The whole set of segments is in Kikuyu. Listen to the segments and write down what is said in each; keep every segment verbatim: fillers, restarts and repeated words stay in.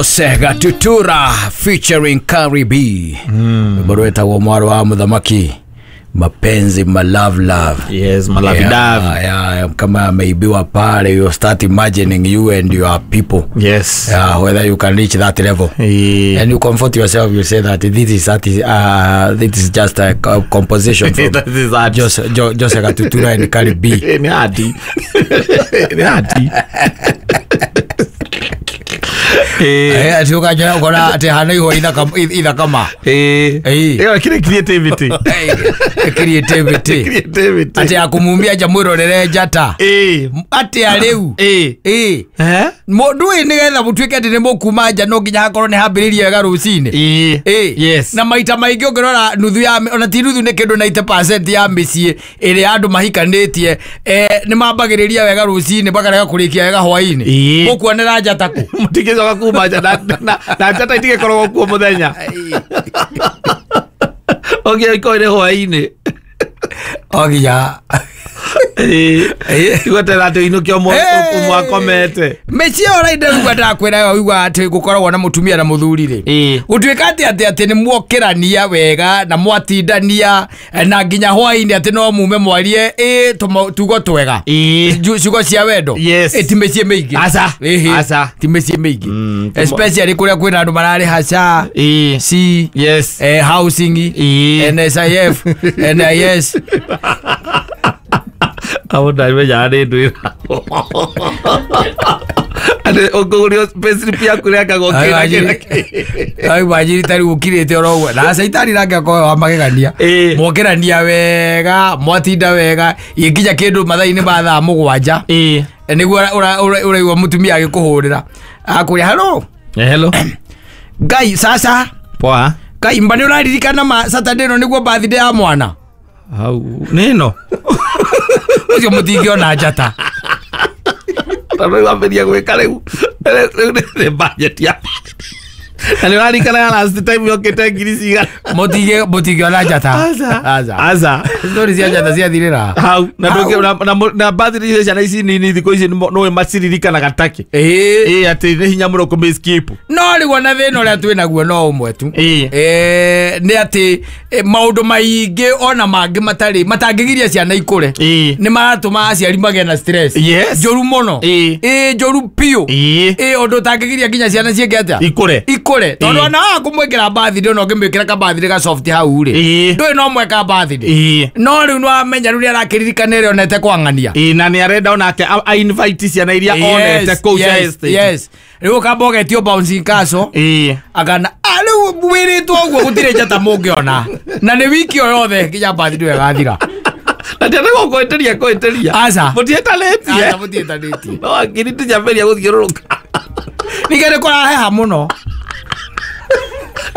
Sega Tutura featuring Cardi B. Rwĩmbo rwĩtagwo Mwarĩ wa Mũthamaki, mapenzi, ma love love. Yes, malavidavi. Yeah, yeah, kama ameibiwa pale, you start imagining you and your people. Yes. Yeah, whether you can reach that level. Eh. And you comfort yourself, you say that this is that is, uh, this is just a co- composition from That is art. Jose, Jo, Jose Gatutura and Cardi B. Nĩ ati nĩ ati. Eh. Eh, ati ũkanjĩra ũkona atĩ hana ihũa ithaka- ithakama. Eh. Eh. Ĩyo kĩrĩ creativity. Eh, creativity. Creativity. Atĩ akumumia nja mwĩrorere njata. Eh. Atĩa rĩu? Eh. Ĩ. Eh? Mũndũ ĩ nĩgetha mũtuĩke atĩ nĩ mũkuma nja no nginya hakorwo nĩ hambĩrĩirie wega rũcinĩ. Eh. Ĩ. Yes. Na maita maingĩ ũngĩrora nuthu ya ona ti nuthu, nĩ kĩndũ ninety percent ya mĩciĩ ĩrĩa andũ mahikanĩtie, eh, nĩ mambagĩrĩria wega rũcinĩ makarega kũrĩkia wega hwainĩ. Ĩ. Mũkuonera njata kũ? Mũtingĩcoka kuma nja na- na- na njata itigĩkoragwo kuo mũthenya ũngĩ ikorwo nĩ hwainĩ. O nginya Ĩ. Tigwetera atĩ ũinũke ũmwe Hey! ũmwe akomete. Mĩciĩ ĩyo raida rĩu ndakwĩra ũigua atĩ gũkoragwo na mũtumia na mũthuri rĩ, Ĩ. gũtuĩka atĩ atĩ atĩ nĩ mwokĩrania wega na mwatindania, eh, na nginya hwainĩ atĩ no mume mwarie ĩ tũmo- tugo twega. Ĩ. Ju- ciugo cia wendo. Yes. Ĩ, ti mĩciĩ mĩingĩ. Aca. Ĩhĩ. Aca. Ti mĩciĩ mĩingĩ. Mm, tũmo- Especially kũrĩa kwĩna andũ mararĩha S H A, Ĩ. C, Yes. eh, housing, Ĩ. N S I F, N I S. Abo ndamenyaga nĩ ndwĩra atĩ ũkũgũrio payslip yaku rĩangagwo kĩna kĩna kĩ. Ai wajiri tari ũkirĩte oro ũguo na caitani nake akorwo wa magegania. Ĩ. Mwokĩrania wega, mwatinda wega, gĩkinya kĩndũ mathaa-inĩ ma thaa mũgwanja, Ĩ. nĩguo ũraigua mũtumia agĩkũhũrĩra akũria, "Hello." Hello. "Ngai sasa." Poa. "Ngai mba nĩ ũraririkana ma Saturday ĩno nĩguo birthday ya mwana?" Hau nĩ ĩno. Ũcio mũtingĩona njata. Tondũ rĩu ambĩria gwĩka rĩu rĩu nĩ budget ya na nĩ ũrarikana ya last time yokĩte ngiri cigana. Mũtingĩ- mũtingĩona njata. Aca. Aca. Aca. Story cia njata ciathirĩra hau na Hau. ndũngĩ- na- na na birthday cia ciana ici nini thikũ ici nĩ maciririkanaga take. Ĩĩ. Ĩ, atĩ nĩ hinya mũno kũmĩ skip. No rĩu ona thĩna ũrĩa twĩ naguo no ũmwe tu. Ĩĩ. Eh, nĩ atĩ eh, maũndũ maingĩ ona mangĩ matarĩ matangĩgiria ciana ikũre Ĩĩ. nĩ maratũma aciari magĩe na stress Yes. njũru mũno. Ĩĩ. Ĩ, njũru biũ. Ĩĩ. Ĩ, ũndũ ũtangĩgiria nginya ciana ciĩke atĩa? Ikũre. Ikũre, tondũ Ĩĩ. ona waga kũmwĩkĩra birthday, ona ũngĩmwĩkĩra ka birthday ka soft hau rĩ, Ĩĩ. ndũĩ no mweka birthday. Ĩĩ. No rĩu nĩwamenya rĩu nĩarakĩririkana ĩrĩa onete kwang'ania. Ĩĩ, na nĩ arenda onake a- a invite ciana iria onete kũu cia yes, estate. Yes, rĩu ũkamba ũgetio bouncing castle Ĩĩ. akana ah, rĩu wĩrĩtwo ũguo gũtirĩ njata mũngĩona na nĩ wiki o yothe nginya birthday ĩyo ĩgathira. Na tiatagwo kũhĩtĩria kũhĩtĩria. Aca. Mũtiĩtanĩtie. Aca, mũtiĩtanĩtie. No akiri tinyambĩria gũthiũrũrũka. Ningĩ nĩ kũraheha mũno.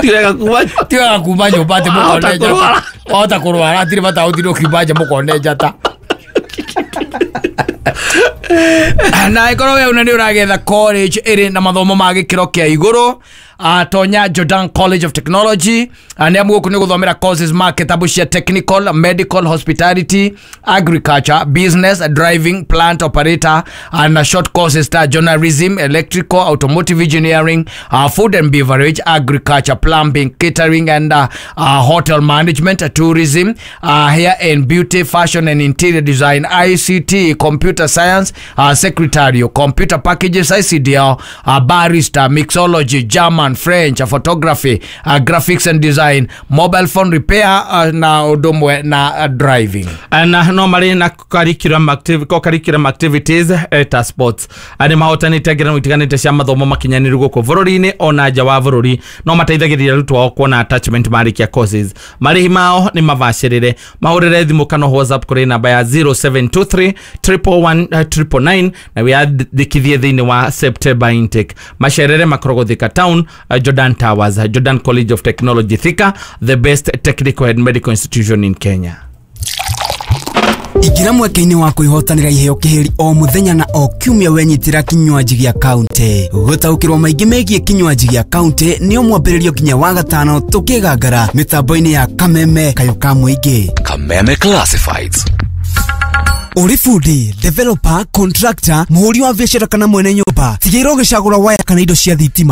Ti wega kuma Ti wega kuma nyũmba atĩ Wahota mũkone njata. kũrwara. Wahota kũrwara, hatirĩ bata ũtinde ũkiuma nja mũkone njata. Na ĩkorwo we una nĩ ũragetha college ĩrĩ na mathomo ma gĩkĩro kĩa igũrũ, uh, tonya Jordan College of Technology. uh, nĩ amu gũkũ nĩ gũthomera courses ma kĩtabu cia technical, medical, hospitality, agriculture, business, driving, plant operator, uh, na short courses ta journalism, electrical, automotive engineering, uh, food and beverage, agriculture, plumbing, catering and uh, uh, hotel management, uh, tourism, uh, hair and beauty, fashion and interior design, I C T, computer science, uh, secretarial, computer packages, I C D L, uh, barista, mixology, German, French, uh, photography, uh, graphics and design, mobile phone repair, uh, na ũndũ ũmwe na uh, driving. Na no marĩ na curriculum activ co-curriculum activities, eh, ta sports. Nĩ mahotanĩte ngerenwa itiganĩte cia mathomo makinyanĩru gũkũ bũrũri-inĩ ona nja wa bũrũri. No mateithagĩrĩria arutwo ao kuona attachment marĩkia courses. Marĩhi mao nĩ mabacĩrĩre. Mahũrĩre thimũ kana WhatsApp kũrĩ namba ya zero seven two three one one nine nine nine na wĩyandĩkithie thĩinĩ wa September intake. Macerere makoragwo Thika Town, uh, Jordan Towers. Jordan College of Technology Thika, the best technical and medical institution in Kenya. Ingĩra mweke-inĩ wa kwĩhotanĩra iheo kĩhĩri o mũthenya na o kiumia wenyitĩra kinywaji gĩa kaunti. Gũtaũkĩrwo maingĩ megiĩ kinywaji gĩa kaunti nĩo mwambĩrĩrio nginya wa gatano tũkĩgangara mĩtambo-inĩ ya Kameme, kayũ ka mũingĩ. Kameme Classifieds. Ũrĩ bundi, developer, contractor, mũhũri wa biacara kana mwene nyũmba, tigĩrĩra ũgĩcagũra waya kana indo cia thitima.